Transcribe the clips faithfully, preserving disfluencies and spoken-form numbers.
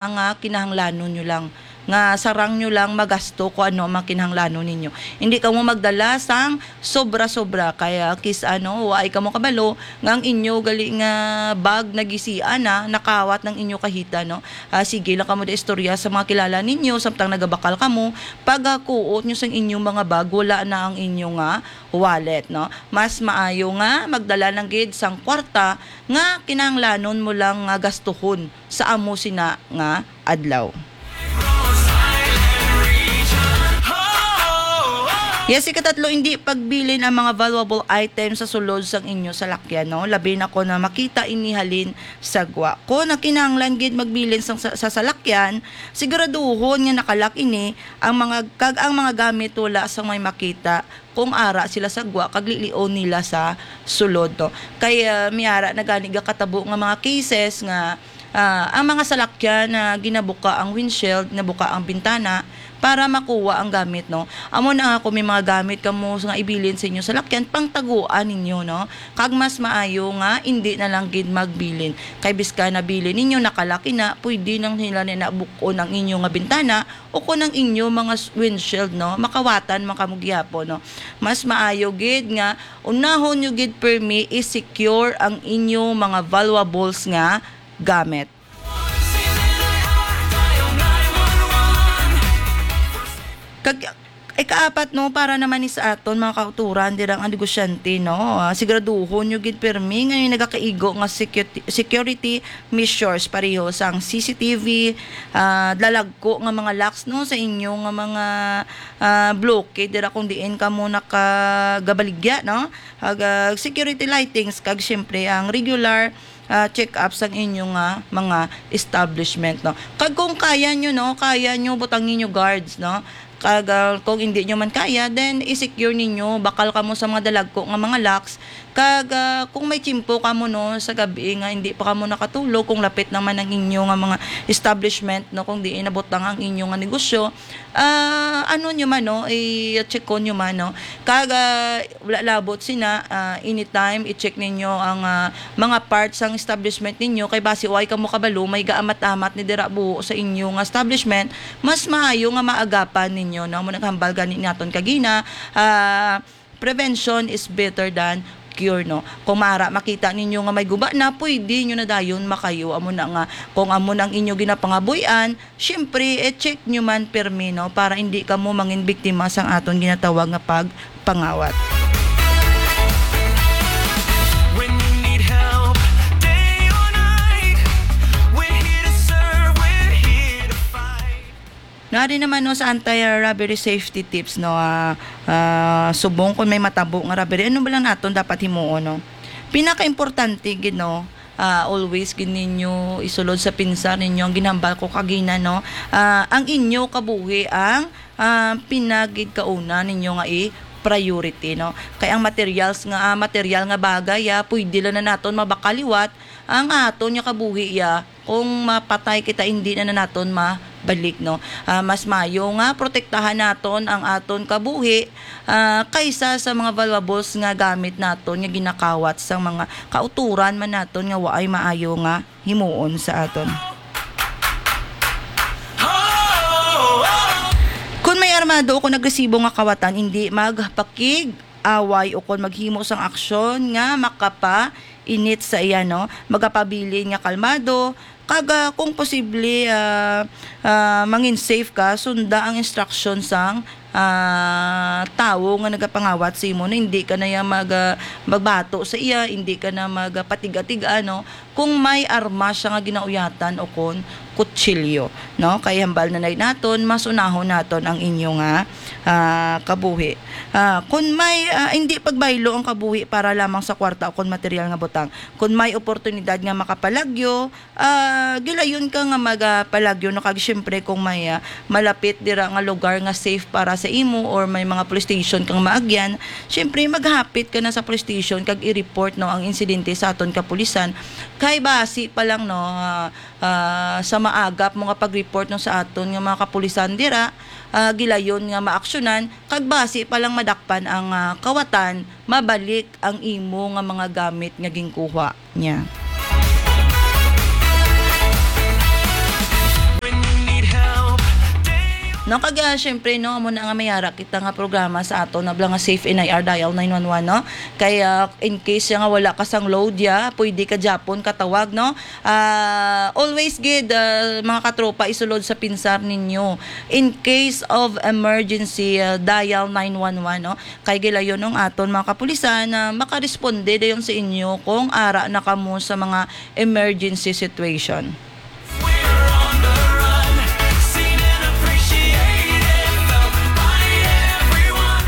nga kinahanglanon nyo lang, nga sarang nyo lang magasto kung ano ang mga kinahanglanon ninyo. Hindi kamo magdala sang sobra-sobra, kaya kis ano, waay kamo kabalo nga ang inyo gali nga bag nagisian na, nakawat ng inyo kahita, no? Ah, sige lang kamo da istorya sa mga kilala ninyo, samtang nagabakal kamo, pagkuot nyo sang inyong mga bag, wala na ang inyo nga wallet, no? Mas maayo nga magdala lang gid sang kwarta nga kinahanglanon mo lang nga gastuhon sa amo sina nga adlaw. Yes, ikatatlo, hindi pagbilin ang mga valuable items sa sulod sang inyo salakyan, no? Labi na kon makita ini halin sa gwa. Kon kinahanglan gid magbilin sang, sa, sa salakyan, siguraduhon nga nakalak ini ang mga, kag ang mga gamit wala sang may makita kung ara sila sa gwa kag lilion nila sa sulod, no? Kay, ah, may ara na gani gakatabo nga mga cases nga, ah, ang mga salakyan na ginabuka ang windshield, nabuka ang bintana para makuha ang gamit, no? Amo na nga kung may mga gamit kamo nga ibilin sa inyo salakyan, pangtaguan ninyo, no? Kag mas maayo nga indi na lang gid magbilin. Kay bisan nabilin ninyo, nakalak na, pwede nang nila na bukon ang inyo nga bintana o kon ang inyo mga s-, windshield, no? Makawatan man kamo gihapon, no? Mas maayo gid nga unahon nyo gid pirmi i-secure ang inyo mga valuables nga gamit. Kag, ikaapat, no, para naman ni sa aton mga kauturan, dira ang negosyante, no? Ah, siguraduhon nyo gid pirmi nga may nagakaigo nga secu-, security measures, pareho sang C C T V, ah, lalagko nga mga locks, no, sa inyo nga mga, ah, bloke dira kung diin kamo nakagabaligya, no? Ag, ah, security lightings, kag siyempre ang regular, ah, check-up sang inyo nga mga establishment, no? Kag kung kaya nyo, no, kaya nyo, butangi nyo guards, no? Kag, ah, kung hindi nyo man kaya, then i-secure ninyo, bakal kamo sa mga dalagko nga mga locks. Kag, ah, kung may tiyempo kamo, no, sa gabi nga hindi pa kamo nakatulog, kung lapit naman ang inyo nga mga establishment, no, kung diin nabutang ang inyo nga negosyo, ah, ano nyo man, no, i-check ko nyo man, no. Kag, ah, wala labot sina, ah, anytime i-check ninyo ang, ah, mga parts sang establishment ninyo, kay basi way kamo kabalo, may gaamat-amat ni dira buho sa inyo nga establishment, mas maayo nga maagapan ninyo, no? Amo nang hambal gani naton kagina, ah, prevention is better than cure, no? Kung mara makita ninyo nga may guba na, pwede nyo na dayon makayo. Amo na nga, kung amo na ang inyo ginapangabuy-an, siyempre, i-check nyo man pirmi, no? Para hindi kamo mangin biktima sang aton ginatawag nga pagpangawat. When you need help, day or night, we're here to serve, we're here to fight. Nari naman, no, sa anti-robbery safety tips, no, ah, ah, subong kung may matabo nga robbery, ano ba lang naton dapat himuon, no? Pinakaimportante gid, no, ah, always gid ninyo isulod sa pinsar ninyo ang ginhambal ko kagina, no? Ah, ang inyo kabuhi ang, ah, pinagigkauna ninyo nga i-priority, no? Kay ang materials nga, ah, material nga bagay, ah, pwede lang na naton mabakal liwat, ang aton nga kabuhi, ah, kung mapatay kita, hindi na, na naton mabalik, no? Ah, mas maayo nga protektahan naton ang aton kabuhi, ah, kaysa sa mga valuables nga gamit naton nga ginakawat sa mga kauturan man naton nga waay maayo nga himuon sa aton. Kung may armado o kung nagresibo nga kawatan, hindi magpakig-away o kung maghimo sang aksyon nga makapainit sa iya, no? Magapabilin nga kalmado, kag, ah, kung posible, ah, ah, mangin safe ka, sunda ang instruction sang, ah, tawo nga nagapangawat sa imo, no? Hindi ka na iya mag, ah, magbato sa iya, hindi ka na magpatiga-tiga, no? Kung may armas siya nga ginauyatan o kon kutsilyo, no? Kay hambal na nay naton, mas unahon naton ang inyo nga, ah, kabuhi. Ah, kung may, ah, hindi pagbaylo ang kabuhi para lamang sa kwarta o kon material nga butang. Kung may oportunidad nga makapalagyo, ah, gilayon ka nga magapalagyo, no? Kag siyempre, kung may, ah, malapit dira nga lugar nga safe para sa imo or may mga police station kang maagyan, siyempre, maghapit ka na sa police station kag i-report, no, ang insidente sa aton kapulisan. Kay basi pa lang, no, ah, ah, sa maagap mo nga pag-report, no, sa aton nga mga kapulisan dira, ah, gilayon nga maaksyonan, kag basi pa lang madakpan ang, ah, kawatan, mabalik ang imo nga mga gamit nga ginkuha niya. No, kag, ah, syempre, no, amo na nga may ara kita nga programa sa aton na nga Safe N I R Dial nine one one, no? Kay, ah, in case ya nga wala ka sang load ya, pwede ka gyapon katawag, no? Ah, always gid, ah, mga katropa, isulod sa pinsar ninyo. In case of emergency, ah, dial nine one one, no? Kay gilayon ang aton mga kapulisan na makaresponde dayon sa inyo kung ara na kamo sa mga emergency situation. We're on the run, seen and appreciated, felt by everyone.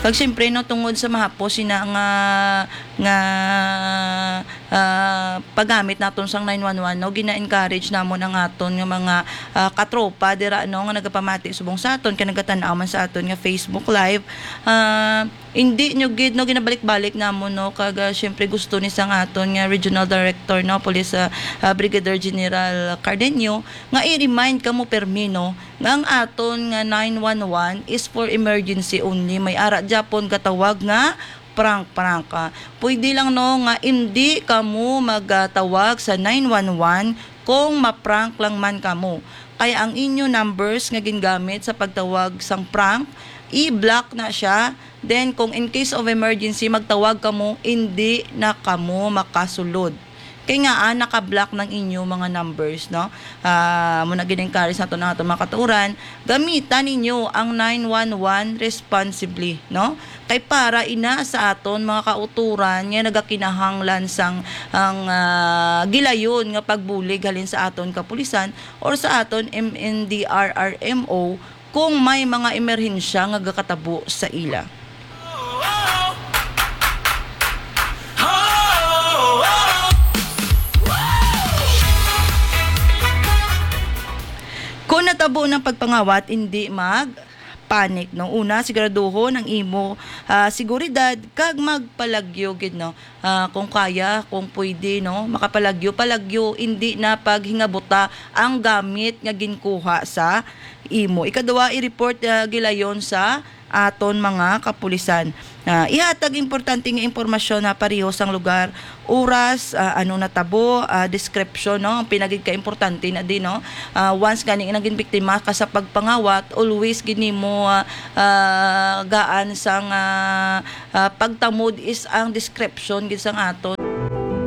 Kag siyempre, no, tungod sa mahapos sina nga, nga, ah, paggamit naton sang nine one one, no, gina-encourage namon ang aton nga mga, ah, katropa dira, no, nga nagapamati subong sa aton, kay nagatan-aw man sa aton nga Facebook Live. Ah, hindi nyo gid, no, ginabalik-balik namon, no, kag, ah, syempre gusto ni sang aton nga Regional Director, no, Police, ah, ah, Brigadier General Cardenio, nga i-remind kamo permi, no, nga ang aton nga nine one one is for emergency only. May ara gyapon gatawag nga prank-prank. Ah, pwede lang, no, nga hindi kamo magatawag sa nine one one kung ma-prank lang man kamo. Kaya ang inyo numbers nga gingamit sa pagtawag sang prank, i-block na siya. Then, kung in case of emergency, magtawag kamo, hindi na kamo makasulod. Kay nga, ah, naka-block ng inyo mga numbers, no? Ah, mo na gin-encourage nato ng ato mga katuran, gamitan ninyo ang nine one one responsibly, no? Kay para ina sa aton mga kauturan nga nagakinahanglan sang ang, ah, gilayon nga pagbulig halin sa aton kapulisan or sa aton M N D R R M O kung may mga emerhensya nga gakatabo sa ila. Kung natabo ng pagpangawat, hindi mag panic, no? Una, siguraduhon ang imo, ah, seguridad kag magpalagyo gid, no? Ah, kung kaya, kung pwede, no, makapalagyo, palagyo, hindi na paghingabuta ang gamit nga ginkuha sa imo. Ikaduha, i-report, ah, gilayon sa aton mga kapulisan. Ah, ihatag importante nga impormasyon na pareho sang lugar, oras, ah, ano natabo, ah, description, no? Ang pinagid ka importante na din, no? Ah, once gani naging biktima ka sa pagpangawat, always gid nimo, ah, ah, gaan sang, ah, ah, pagtamod is ang description gid sang aton.